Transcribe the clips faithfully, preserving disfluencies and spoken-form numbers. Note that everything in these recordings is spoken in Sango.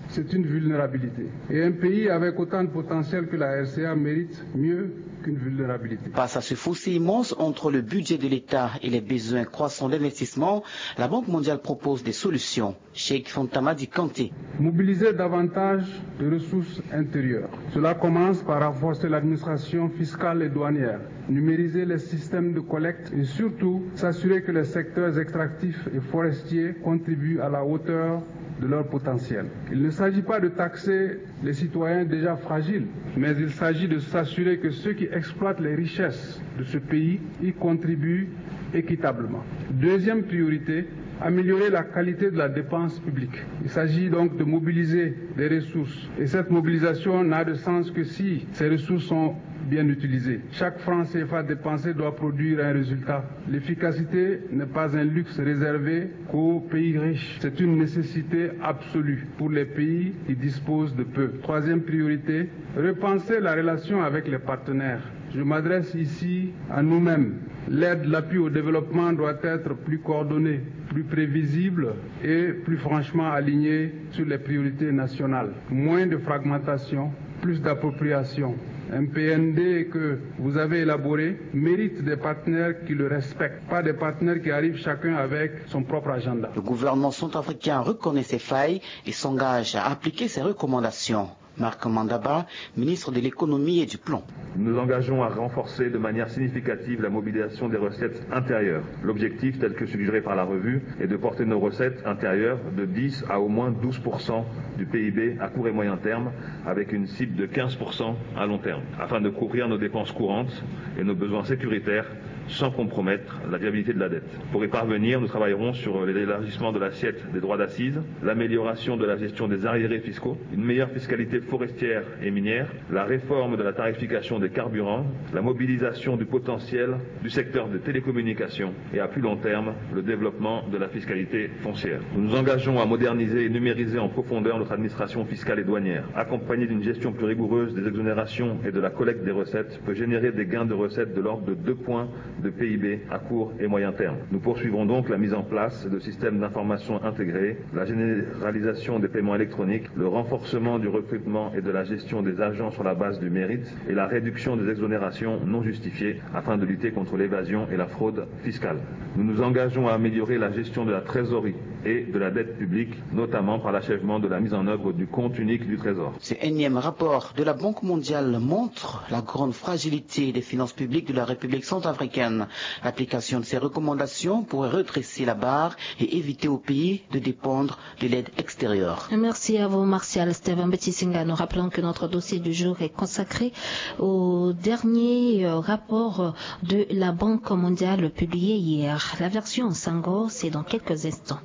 C'est une vulnérabilité. Et un pays avec autant de potentiel que la R C A mérite mieux qu'une vulnérabilité. Face à ce fossé immense entre le budget de l'État et les besoins croissants d'investissement, la Banque mondiale propose des solutions. Cheikh Fanta Madi Kanté. Mobiliser davantage de ressources intérieures. Cela commence par renforcer l'administration fiscale et douanière, numériser les systèmes de collecte et surtout s'assurer que les secteurs extractifs et forestiers contribuent à la hauteur de leur potentiel. Il ne s'agit pas de taxer les citoyens déjà fragiles, mais il s'agit de s'assurer que ceux qui exploitent les richesses de ce pays y contribuent équitablement. Deuxième priorité, améliorer la qualité de la dépense publique. Il s'agit donc de mobiliser des ressources. Et cette mobilisation n'a de sens que si ces ressources sont bien utilisées. Chaque franc C F A dépensé doit produire un résultat. L'efficacité n'est pas un luxe réservé qu'aux pays riches. C'est une nécessité absolue pour les pays qui disposent de peu. Troisième priorité, repenser la relation avec les partenaires. Je m'adresse ici à nous-mêmes. L'aide, l'appui au développement doit être plus coordonnée, plus prévisible et plus franchement alignée sur les priorités nationales. Moins de fragmentation, plus d'appropriation. Un P N D que vous avez élaboré mérite des partenaires qui le respectent, pas des partenaires qui arrivent chacun avec son propre agenda. Le gouvernement centrafricain reconnaît ses failles et s'engage à appliquer ses recommandations. Marc Mandaba, ministre de l'Économie et du Plan. Nous nous engageons à renforcer de manière significative la mobilisation des recettes intérieures. L'objectif, tel que suggéré par la revue, est de porter nos recettes intérieures de dix à au moins douze pour cent du P I B à court et moyen terme, avec une cible de quinze pour cent à long terme, afin de couvrir nos dépenses courantes et nos besoins sécuritaires sans compromettre la viabilité de la dette. Pour y parvenir, nous travaillerons sur l'élargissement de l'assiette des droits d'assises, l'amélioration de la gestion des arriérés fiscaux, une meilleure fiscalité forestière et minière, la réforme de la tarification des carburants, la mobilisation du potentiel du secteur des télécommunications et, à plus long terme, le développement de la fiscalité foncière. Nous nous engageons à moderniser et numériser en profondeur notre administration fiscale et douanière, accompagnée d'une gestion plus rigoureuse des exonérations et de la collecte des recettes peut générer des gains de recettes de l'ordre de deux points de P I B à court et moyen terme. Nous poursuivrons donc la mise en place de systèmes d'information intégrés, la généralisation des paiements électroniques, le renforcement du recrutement et de la gestion des agents sur la base du mérite et la réduction des exonérations non justifiées afin de lutter contre l'évasion et la fraude fiscale. Nous nous engageons à améliorer la gestion de la trésorerie et de la dette publique, notamment par l'achèvement de la mise en œuvre du compte unique du Trésor. Ce énième rapport de la Banque mondiale montre la grande fragilité des finances publiques de la République centrafricaine. L'application de ces recommandations pourrait redresser la barre et éviter au pays de dépendre de l'aide extérieure. Merci à vous, Martial Steven Betisinga. Nous rappelons que notre dossier du jour est consacré au dernier, euh, rapport de la Banque mondiale publié hier. La version en sango, c'est dans quelques instants.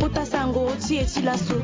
Kota sango ti e ti laso.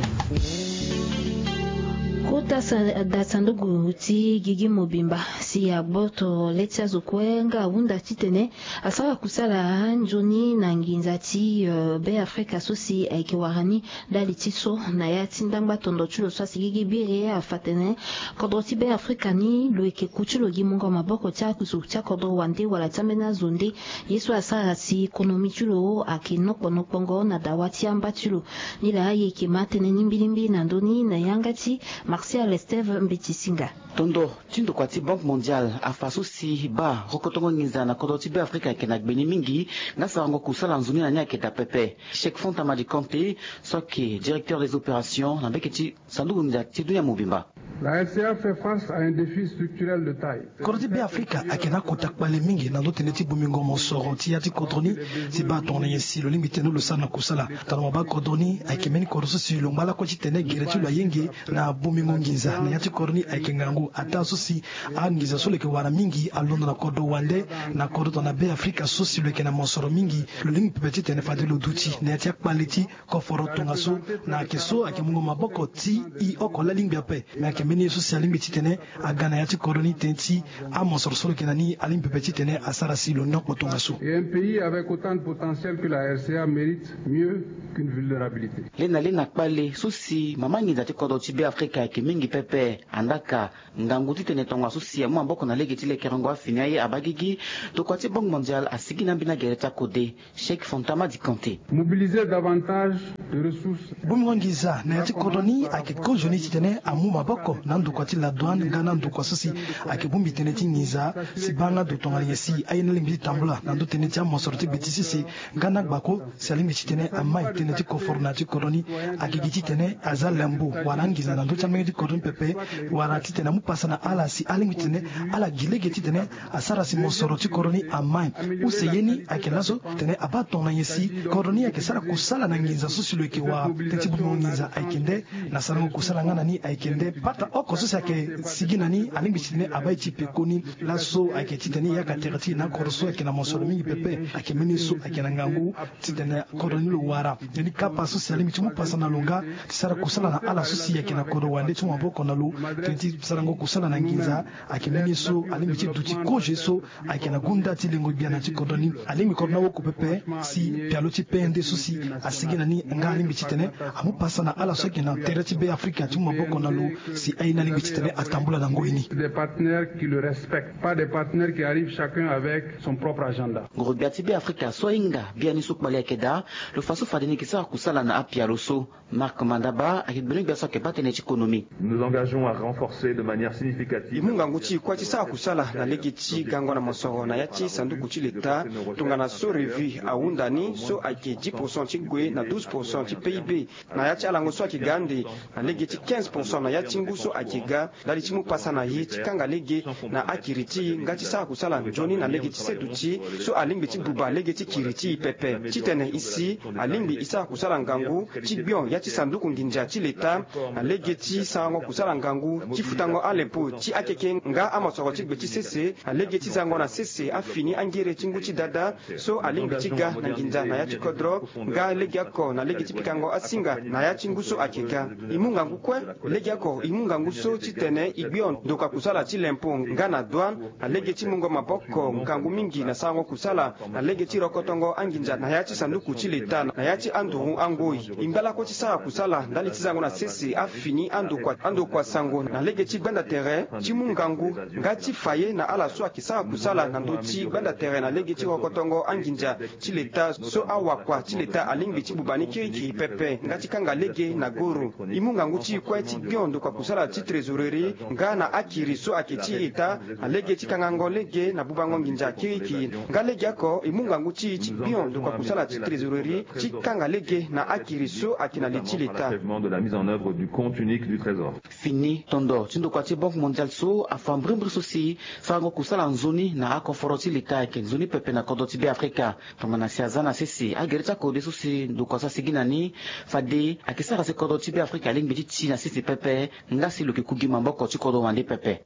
Kota sa-, da sanduku ti gigi mobimba si agboto le ti azo kue nga ahunda titene asara kusala nzoni na nginza ti, euh, Be Afrika so si ayeke wara ni ndali ti so na ya ti ndangba tondo ti lo so asi gigi biri afa tene kodro ti Be Afrika ni lo yeke ku ti lo gi mungo maboko ti akusu ti akodro wande wala ti ambeni azo nde. Ye so asara si konomi ti lo ayeke nokpo nokpongo na dawa ti amba ti lo. Ni laa e yeke ma tënë ni mbi lingbi na ndö ni na yanga ti Martial Esteve Mbeti Singa. Tondo ti ndokua ti Banque mondiale afa so si baa rokotongo nginza na kodro ti Be Afrika ayeke na gbeni mingi. Nga sarango kusala nzoni na ni ayeke daa pepe. Cheikh Fanta Madi Kanté so ayeke directeur des opérations na mbeke ti sanduku nginza ti dunia mobimba. La R C A fait face à un défi structurel de taille. Kodro ti Be Afrika ayeke na akota kpale mingi na ndö tënë ti bongbingo mosoro ti ya ti kodro ni. Si baa tongana nyen si lo lingbi tene lo sara na kusala? Tongana mo baa kodro ni ayeke mbeni kodro so si lo ngba lakue titene gere ti lo ayenge na bongbingo nginza na ya ti kodro ni ayeke ngangu. Ataa so si anginza so lo yeke wara mingi alondo na kodro wande na kodro tongana Be Afrika so si lo yeke na mosoro mingi. Lo lingbi pepe titene fade lo duti na ya ti akpale ti koforo tongaso na ayeke so ayeke mungo maboko ti e oko laa lingbi ape. Me ayeke Mbeni ye so si alingbi titene aga na ya ti kodro ni tënë ti amosoro so lo yeke na ni alingbi pepe titene asara si lo nokpo tongaso. Et un pays avec autant de potentiel que la R C A mérite mieux qu'une vulnérabilité. Lê na lê na kpale so si mama nginza ti kodro ti Beafrika ayeke mingi pepe. Andaka ngangu titene tongaso si amu maboko na lege ti lekerengo afini aye abaa gigi. Tokua ti Banque Mondiale asigi na ambeni agere ti akode. Cheikh Fontama di Kanté. Mobiliser davantage de ressources. Bongbingo nginza na ya ti kodro ni ayeke kozoni titene amu maboko na ndokua ti la douane nga na ndokua so si ayeke bongbi tënë ti nginza si baa nga ndo tongana nyen si aye ni alingbi ti tambula na ndö tënë ti amosoro ti gbe ti sese. Nga na gbako si alingbi titene amai tënë ti koforo na ya ti kodro ni. Ayeke gi titene aza lembo wala anginza na ndö ti amolenge ti kodro ni pepe. Wala titene amu pasa na ala si alingbi titene ala gi lege titene asara si mosoro ti kodro ni amai. Use ye ni ayeke laso tene abaa tongana nyen si kodro ni ayeke sara kusala na nginza so si lo yeke wara. Tënë ti bongbingo nginza ayeke nde na sarango kusala nga na ni ayeke nde pata oko so si ayeke sigi na ni alingbi titene abaa e ti pekoni. Laso ayeke titene e yaka tere ti e na akodro so ayeke na mosoro mingi pepe. Ayeke mbeni ye so ayeke na ngangu titene kodro ni lo wara. Tënë ni kapa so si alingbi ti mu pasa na lo nga ti sara kusala na ala so si ayeke na kodro wande ti mu maboko na lo. Tënë ti sarango kusala na nginza ayeke mbeni ye so alingbi ti duti kozo ye so ayeke na gunda ti lengo gbia na ti kodro ni. Alingbi kodro ni awoko pepe si pialo ti P N D so si asigi na ni nga alingbi titene amu pasa na ala so ayeke na tere ti Beafrika ti mu maboko na lo si aye ni alingbi titene atambula na ngoi ni. Des partenaires qui le respectent, pas des partenaires qui arrivent chacun avec son propre agenda. Ngoro gbia ti Beafrika so ahinga biani so kpale ayeke daa lo fa so fade ni yeke sara kusala na apialo so. Marc Mandaba ayeke gbene gbia so ayeke baa tënë ti konomi. Nous nous engageons à renforcer de manière significative. E mu ngangu ti e kue ti sara kusala na lege ti gango na mosoro na ya ti sanduku ti leta. Tongana so revue ahunda ni so ayeke dix pourcent ti gue na douze pourcent ti P I B na ya ti alango so ayeke ga ande na lege ti quinze pourcent na ya ti ngu so ayeke ga. Ndali ti mu pasa na e ti kanga lege na akiri ti e nga ti sara kusala nzoni na lege ti seduti so alingbi ti buba lege ti kiri ti e pepe. Titene e si alingbi e sara kusala ngangu ti gbion ya ti sanduku nginza ti leta na lege ti sarango kusala ngangu ti futango alempo ti akeke nga amosoro ti gbe ti sese na lege ti zango na sese afini angere ti ngu ti dada so alingbi ti ga na nginza na ya ti kodro nga legeoko na lege ti pikango asinga na ya ti ngu so ayeke ga. E mu ngangu kue legeoko e mu ngangu so titene e gbion ndokua kusala ti lempo nga na douane na lege ti mungo maboko ngangu mingi na sarango kusala na lege ti rokotongo anginza na ya ti sanduku ti leta na ya ti anduru angoi. E ngba lakue ti sara kusala ndali ti zango na sese afini andokua andokua sango na lege ti gbanda tere ti mu ngangu nga ti fa ye na ala so ayeke sara kusala na ndö ti gbanda tere na lege ti rokotongo anginza ti leta so awakua ti leta alingbi ti buba ni kirikiri pepe nga ti kanga lege na goro. E mu ngangu ti e kue ti gbion ndokua kusala ti trésorerie nga na akiri so ayeke ti eta na lege ti kangango lege na bubango nginza kirikiri. Nga legeoko e mu ngangu ti e ti gbion ndokua kusala ti trésorerie ti kanga lege na akiri so ayeke na li ti leta. Achèvement de la mise en œuvre du compte unique du trésor. Fini tondo ti ndokua ti Banque Mondiale so afa mbrimbri so si sarango kusala nzoni na akoforo ti leta ayeke nzoni pepe na kodro ti Beafrika. Tongana si aza na sese agere ti akode so si ndokua so asigi na ni fade ayeke sara si kodro ti Beafrika alingbi ti ti na sese pepe nga si lo yeke ku gi maboko ti kodro wande pepe.